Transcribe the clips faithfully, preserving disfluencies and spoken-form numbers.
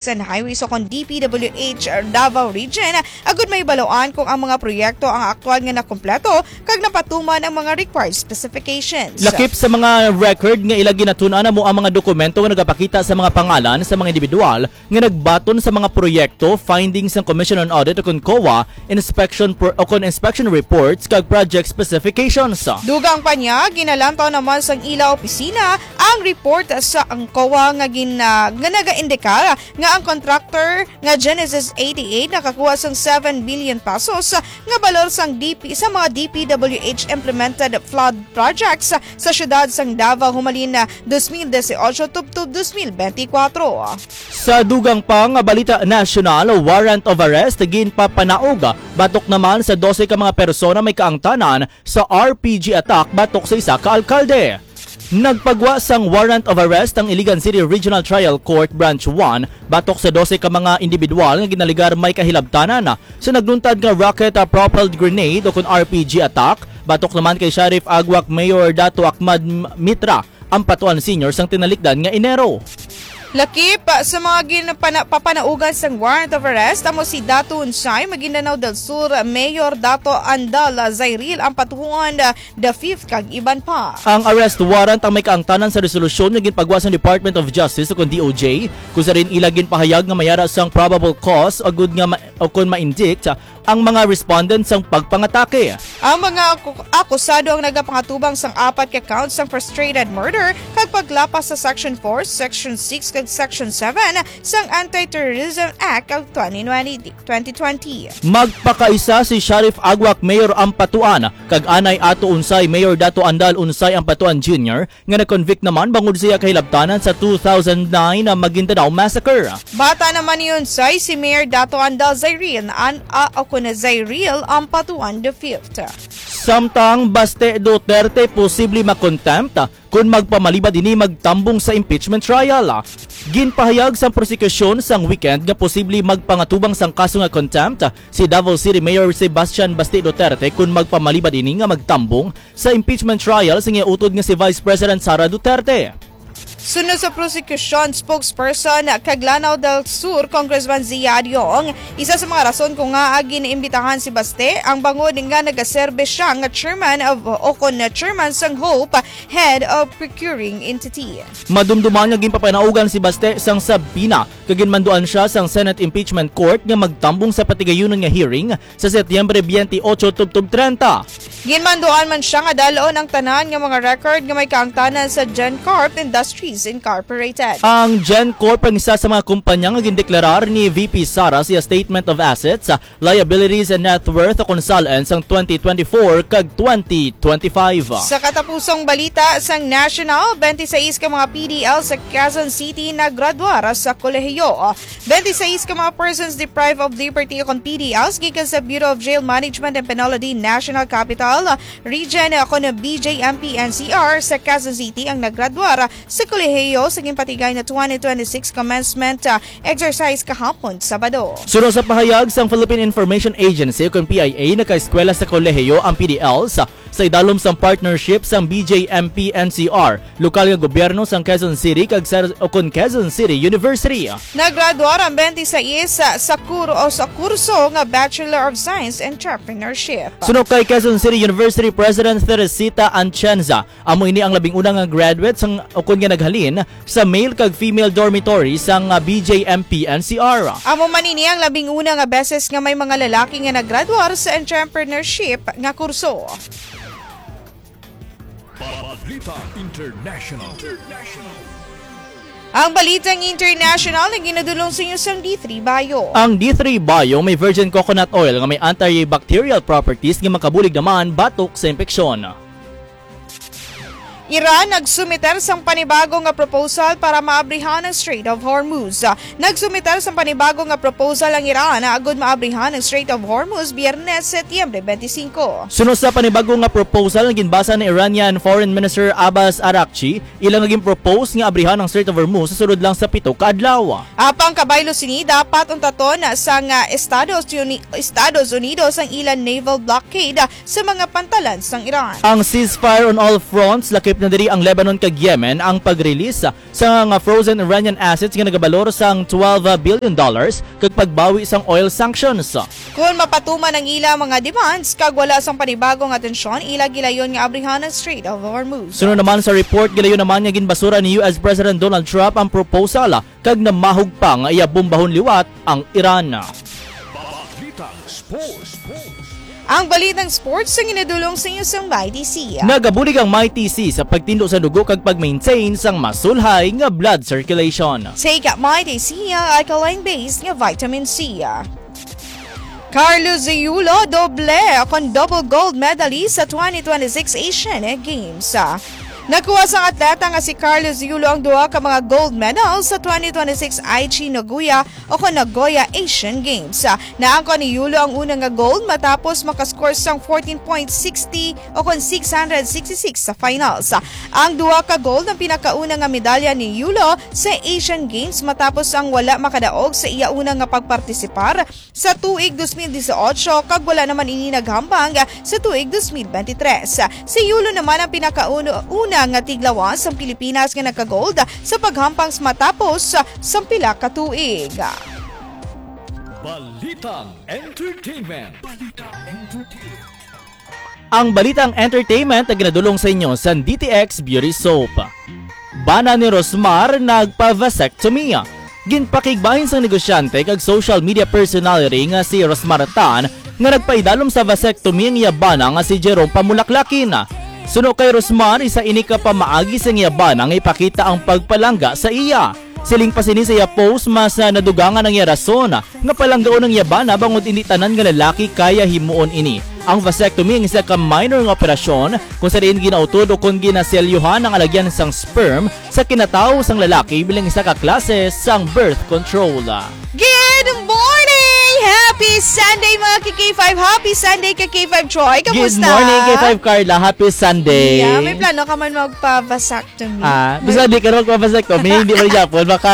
and Highways o kon D P W H Davao Region, agud mahibaluan kung ang mga proyekto ang aktual nga nakompleto kag napatuman ang mga required specifications. Lakip sa mga record nga ila ginatun-an, amo ang mga dokumento nga nagapakita sa mga pangalan sa mga individual nga nagbaton sa mga proyekto, findings sang Commission on Audit o kon COA, inspection pro-, o kon inspection reports kag project specifications. Dugang pa niya, ginalantaw naman sang ila opisina ang report sa ang COA nga gin-, ah, nga nagaindikar nga ang contractor nga Genesis eighty-eight nakakuha sang seven billion pesos nga balor sang D P sa mga D P W H implemented flood projects sa siyudad sang Davao humalin na dos mil dieciocho tubtob dos mil benti kwatro. Sa dugang pa nga balita nasyonal, warrant of arrest ginpapanaog batok naman sa dose ka mga persona may kaangtanan sa R P G attack batok sa isa ka alkalde. Nagpagwa sang warrant of arrest ang Iligan City Regional Trial Court Branch one batok sa dose ka mga individual nga ginaligar may kahilabtanan sa nagluntad nga rocket, ah, propelled grenade o kon R P G attack batok naman kay Sheriff Aguac Mayor Dato Ahmad M-, Mitra Ampatuan Senior sang tinalikdan nga Enero. Lakip sa mga ginpana-, papanaugan sang warrant of arrest amo si Dato Unsay, Maguindanao del Sur Mayor Dato Andal Zairil Ampatuan the fifth kag iban pa. Ang arrest warrant ang may kaangtanan sa resolusyon nga ginpagwa sang Department of Justice o kon D O J, kung sa diin ila ginpahayag nga may ara sang probable cause agud nga ma-, o kon ma-indict ang mga respondent sang pagpangatake. Ang mga aku-, akusado ang nagapangatubang sang apat ka counts sang frustrated murder kag paglapas sa Section four, Section six, kag Section seven sang Anti-Terrorism Act of twenty twenty, twenty twenty. Magpakaisa si Sheriff Aguac Mayor Ampatuan kag anay Ato Unsay Mayor Dato Andal Unsay Ampatuan Junior nga na-convict naman bangod sa iya kahilabtanan sa two thousand nine na Maguindanao Massacre. Bata naman ni Unsay si Mayor Dato Andal Zairil an, a, o kon Zairil Ampatuan the fifth. Samtang Baste Duterte posible ma-contempt kon magpamalibad ini magtambong sa impeachment trial. Ginpahayag sang prosekusyon sang weekend nga posible magpangatubang sang kaso nga contempt si Davao City Mayor Sebastian Baste Duterte kon magpamalibad ini nga magtambong sa impeachment trial sa iya utod nga si Vice President Sara Duterte. Suno sa prosecution spokesperson kag Lanao del Sur, Congressman Zia Adiong, isa sa mga rason kung ngaa giniimbitahan si Baste ang bangod nga nagaserbe siya nga chairman of, o kon chairman sang Hope, head of procuring entity. Madumduman nga ginpapanaugan si Baste sang subpoena kag ginmanduan siya sang Senate Impeachment Court nga magtambong sa patigayunon nga hearing sa Setyembre veintiocho tubtob treinta. Ginmanduan man siya nga dal-on ang tanan nga mga record nga may kaangtanan sa GenCorp Industries Incorporated. Ang GenCorp ang isa sa mga kumpanya nga gindeklarar ni V P Sara sa iya Statement of Assets, Liabilities and Net Worth o kon SALN sang twenty twenty-four kag twenty twenty-five. Sa katapusong balita sang national, twenty-sais ka mga P D L sa Quezon City naggraduar sa kolehiyo. Twenty-sais ka mga persons deprived of liberty o kon P D Ls gikan sa Bureau of Jail Management and Penalty National Capital Region o kon B J M P N C R sa Quezon City ang naggraduar sa kolehiyo sa ginpatigay na twenty twenty-six commencement, ah, exercise kahapon, Sabado. Suno sa pahayag sang Philippine Information Agency o kon P I A, nakaeskwela sa kolehiyo ang P D Ls sa idalom sang partnership sang B J M P N C R, lokal nga gobyerno sang Quezon City kag sa, o kon Quezon City University. Naggraduar ang twenty-sais sa, sa kur-, o sa kurso nga Bachelor of Science Entrepreneurship. Suno kay Quezon City University President Teresita Anchenza, amo ini ang labing una nga graduate sang, o kon nga naghalin sa male kag female dormitory sang, ah, B J M P N C R. Amo man ini ang labing una nga beses nga may mga lalaki nga naggraduar sa entrepreneurship nga kurso. Balita International. Ang balitang international ang ginadulong sa inyo sang D three Bio. Ang D three Bio may virgin coconut oil nga may antibacterial properties nga makabulig naman batok sa impeksyon. Iran nagsumiter sang panibago nga proposal para maabrihan ang Strait of Hormuz. Nagsumiter sang panibago nga proposal ang Iran agud maabrihan ang Strait of Hormuz Biyernes, Setyembre twenty-five. Suno sa panibago nga proposal nga ginbasa ni Iranian Foreign Minister Abbas Araghchi, ila nga ginpropose nga abrihan ang Strait of Hormuz sa sulod lang sa pito ka adlaw. Apang kabaylo sini, dapat untaton sang, ah, Estados Uni-, Estados Unidos ang ilang naval blockade sa mga pantalan sang Iran. Ang ceasefire on all fronts lakip na diri ang Lebanon kag Yemen ang pag-release sa nga frozen Iranian assets nga nagabalor sang twelve billion dollars kag pagbawi sang oil sanctions. Kon mapatuman ang ila mga demands kag wala sang panibago nga tensyon, ila gilayon nga abrihan ang Strait of Hormuz. Sunod naman sa report, gilayon naman nga ginbasura ni U S President Donald Trump ang proposal kag namahog pa nga iya bombahon liwat ang Iran. Balitang Sports. Ang balitang sports ang ginadulong sa inyo sang Mighty C. Nagabulig ang Mighty C sa pagtindo sa dugo kag pag-maintain sang masulhay nga blood circulation. Take Mighty C, alkaline base nga vitamin C. Carlos Yulo, doble kon double gold medalist sa twenty twenty-six Asian Games. Nakuha sang atleta nga si Carlos Yulo ang duha ka mga gold medals sa twenty twenty-six Aichi Nagoya o kon Nagoya Asian Games. Naangkon ni Yulo ang una nga gold matapos makascore sang fourteen point sixty o kon six hundred sixty-six sa finals. Ang duha ka gold ang pinakauna nga medalya ni Yulo sa Asian Games matapos ang wala makadaog sa iya una nga pagpartisipar sa tuig dos mil disiotso kag wala naman ini naghambang sa tuig dos mil bente tres. Si Yulo naman ang pinakauna nga tiglawas sang Pilipinas nga nagka-gold sa paghampang matapos sang pila ka tuig. Balitang Entertainment. Ang balitang entertainment ang ginadulong sa inyo sang D T X Beauty Soap. Bana ni Rosmar nagpa-vasectomy. Ginpakigbahin sang negosyante kag social media personality nga si Rosmar Tan nga nagpaidalom sa vasectomy ang iya bana nga si Jerome Pamulaklakin. Suno kay Rosmar, isa ini ka pamaagi sang iya bana nga ipakita ang pagpalangga sa iya. Siling pa sini sa iya post, mas, ah, nadugangan ang iya rason nga palanggaon ang iya bana bangod indi tanan nga lalaki kaya himuon ini. Ang vasectomy ang isa ka minor nga operasyon kung sa diin ginautod o kon ginaselyuhan ang alagyan sang sperm sa kinatawo sang lalaki bilang isa ka klase sang birth control. Good morning! Happy Sunday, mga ka-K five! Happy Sunday, ka-K five Troy! Good Kamusta? Morning, K five Carla. Happy Sunday. Yeah, may plano ka man magpa-vasectomy? Ah, basta di ka na magpa-vasectomy, hindi man gyapon, baka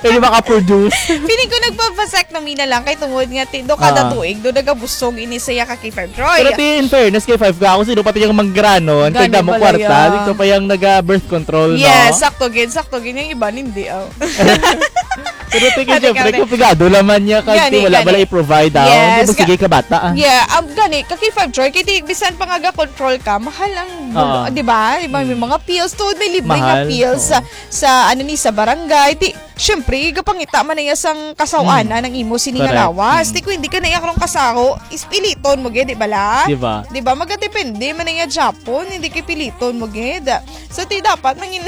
hindi maka-produce. Feeling ko nagpa-vasectomy na lang kay tungod nga ti, do kada Ah. tuig do nagabusog ini sa iya ka-K five Troy. Pero ti, in fairness kay five ka, ako sino pati yung manggranon, kay Gani damo pala kwarta, yan. Dito pa yung naga-birth control, no? Yes, sakto gid, sakto gid. Yung iba, hindi, oh. Pero tingin, Kani, syempre, kani. Kung pigado naman niya, kag Gani, ti wala gani. Bala i-provide daw. Yes, Hindi mo ga-, sige ka bata, ah. Yeah, um, gani, ka-K five Troy, kay ti, bisan pa nga ga-control ka, mahal ang bulo, Oo. Di ba? Di ba, may Mm. mga pills, tuod may libre nga Mahal, pills oo. sa, sa, ano ni, sa barangay. Ti, syempre, gapangita man na iya sang kasaw-anan Mm. ang imo sini nga Correct. Lawas. Mm. Ti, kung hindi ka na iya karong kasaho, is piliton mo, gid, di ba la? Di ba? Di ba? Magadepende man na iya Japon, hindi kay piliton mo, gid. So, ti dapat mangin-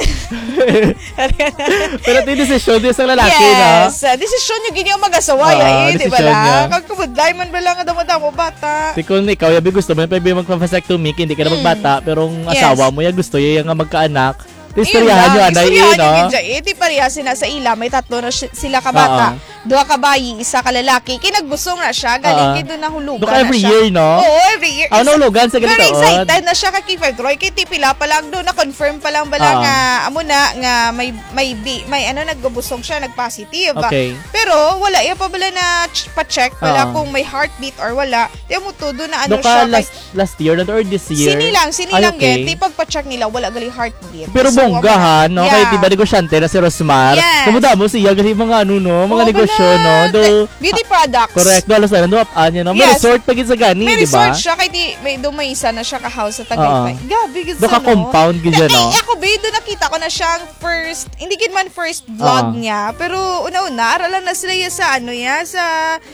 Pero ti desisyon, ti sa lalaki, no? Yes. Ah, desisyon niyo gini ang mag-asawa, Oo, ya, eh, di ba desisyon la? Niya. Kag kabudlay man ba lang nga damo-damo bata? Ti kung ikaw, yabi gusto mo, pwede magpa-vasectomy, hindi ka na Mm. magbata, pero ang Yes. asawa mo, ya gusto ya nga magkaanak. Ti Ayun istoryahan lang, niyo, anay, istoryahan eh, niyo no? Gid siya, eh. Ti pareha sina sa ila, may tatlo na si-, sila ka bata. Oo. Duha ka bayi, isa ka lalaki. Kay nagbusong na siya, galing Ah. kay doon nahulugan Doon ka na every siya. Year, no? Oo, every year. Ah, Isa-, nahulugan sa pero ganito, oh. Excited na siya kay Kiefer Troy. Kay ti pila pa lang doon, na-confirm pa lang bala Ah. nga, amo na, nga may, may bi-, may ano, nagbubusong siya, nag-positive. Okay. Pero wala, iya pa bala na ch-, pa-check bala Ah. kung may heartbeat or wala. Di mo todo na ano Doon ka siya, kay last, last year na or this year? Sini lang, sini Ay, lang, okay. Gid. Di pagpa-check nila, wala gali heartbeat. Pero So, bonggahan, no? Kaya yeah. Di ba negosyante na si Rosmar? Yes. Damo-damo siya, gali mga ano, no? Mga Oo, negosyo, bala. No? Do, Beauty products. Correct. Do, halos na, do, ano, no? May Yes. Resort pa gid sa gani, May di ba? Resort siya, kay di, may, do, may isa na siya ka-house sa Tagaytay. Oo. Gabi gid Do sa, ka no? Compound gid siya, no? Ako, be, do nakita ko na siyang first, hindi gid man first vlog Oo. Niya, pero una-una, ara lang na sila ya sa, ano, ya, sa,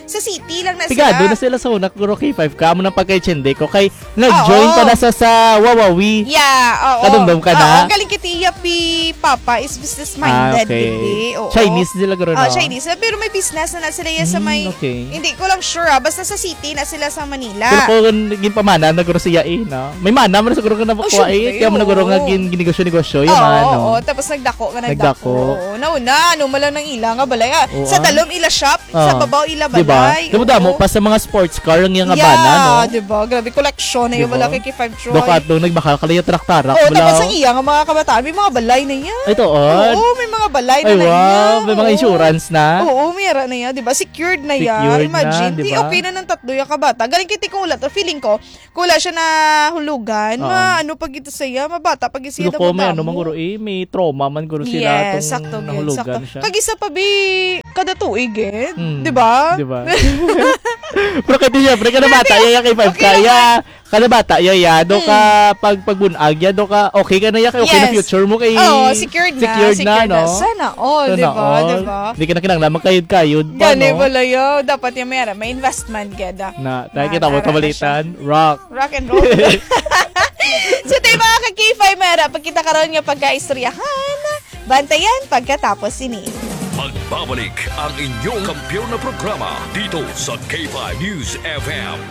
sa city lang na Pigado sila. Na sila sa una, kuro K five ka, amo nang pagka-itsende ko, kay nag-join Oo. Pa na sa, sa Wawawi. Yeah, oo. Kadumdum ka na? Oo, galing kay ti iya pi Papa is business-minded, Ah, okay. Gid, eh. Oo. Chinese sila, guro, Oh, no? Chinese sila, pero may business na, na sila ya sa Hmm, may, okay. Hindi ko lang sure, ah. Basta sa city na sila sa Manila. Pero kung naging pamana na, guro, siya, eh, no? May mana man siguro ka na Oh, makuha, eh. syempre, Kaya mo na, guro, nga oo. Gin-, ginegosyo-negosyo, yung Oo, mga, ano. Oo. Tapos nagdako nga, Nagdako. Nagdako. Oo, nauna, ano, malang nang ila nga balay, ah. Sa Oo. Talom ila shop, sa Ah. Babaw ila Di ba? balay. Damo-damo Oo. pa sa mga sports car ang iyang Yeah, abana, no? Di ba? Grabe, koleksyon na Di yung ba? Wala kay K five Troy. Doka at nung nagbakal ka lang yung tarak-tarak, Oo, wala. Tapos ang iya nga mga kabataan, may mga balay na yan. Ay, tuod? Oo, may mga balay na Ay, na wow. Yan. May mga Oo. Insurance na? Oo, Yara na ya, di ba? Secured na ya. Secured na, Imagine, di di ba? Okay na ng tatlo ya ka bata. Galing kiti kung wala to. Feeling ko, kung wala siya na hulugan, Oo. ma-, ano pa gito sa iya, mabata pa gito siya. Siguro ko may ano, madamo. Manguro, eh, may trauma man guro sila Yes, atong sakto gyud, nahulugan sakto. Siya. Kag isa pa, bi, kada tuig, eh. Mm, Di ba? di ba? Pero kay di, syempre, kada bata, Grabe. iya, iya kay five Okay ka, lang iya. Kada bata, iya, iya. Do ka, Mm. pag, pagbunag, iya, do ka, okay ka na, iya, kay okay na Yes. future mo, kay Oo, secured na, secured na, secured na. no? Sana all, Sana di ba? all. Di ba? Di ka na kinahanglan magkayod-kayod pa, Gani no? pala yun. Dapat yung may, may investment, geda. Na, tayo Na, kita mo, tara na siya. kabalitan, rock. Rock and roll. So, tayo, mga ka-K five, mara, pagkita karon nga pagkaistoryahan, bantayan pagkatapos sini. Magbabalik ang inyong kampiyon na programa dito sa K five News F M.